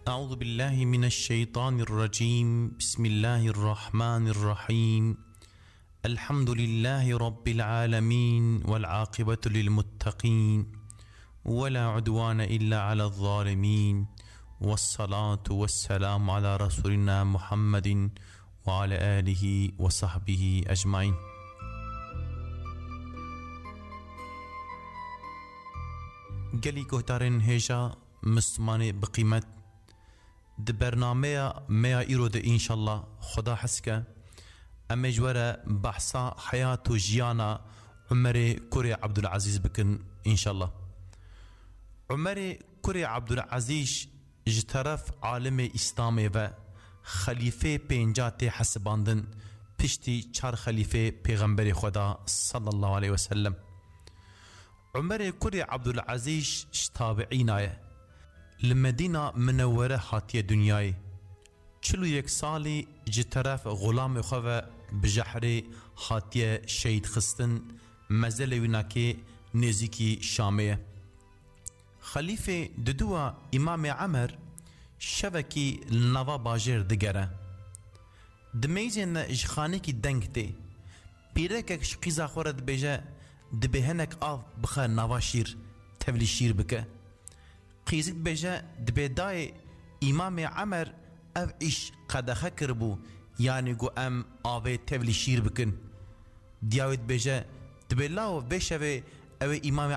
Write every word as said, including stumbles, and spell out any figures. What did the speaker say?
أعوذ بالله من الشيطان الرجيم. بسم الله الرحمن الرحيم. الحمد لله رب العالمين، والعاقبة للمتقين، ولا عدوان إلا على الظالمين، والصلاة والسلام على رسولنا محمد وعلى آله وصحبه أجمعين. Gelî guhdarên hêja, Mislimanê bi qîmet, di bernameya me ya îro de înşallah Xweda hez ke, em ê ji we re behsa heyat û jiyana Umerê kurê Ebdulezîz bikin înşallah. Umerê kurê Ebdulezîz ji teref alimê Îslamê ve xelîfê pênca tê hesibandin, piştî çar xelîfê Pêxemberê Xweda sallallahu aleyhi ve sellem. Umerê kurê Ebdulezîz ji tabiîna ye. Li Medîna Minewwere hatiye dinyayê. Çil û yek salî ji teref xulamê xwe ve bi jehrê hatiye şehîd xistin, mezelê wî nakê nêzîkî Şamê ye. Xelîfê diduwa Îmamê Emer şevekî li nava bajêr digere. Di meyzên de ji xanekî deng tê. Pîrekek ji qîza xwe re dibêje, dibê hinek av bixe nava şîr, tevlî şîr bike. Qîzik dibêje, dibê dayê Îmamê Emer ev îş qedexe kiribû, yanî got em avê tevlî şîr bikin. Diya wê dibêje, dibê lawo vê şevê ew ê Îmamê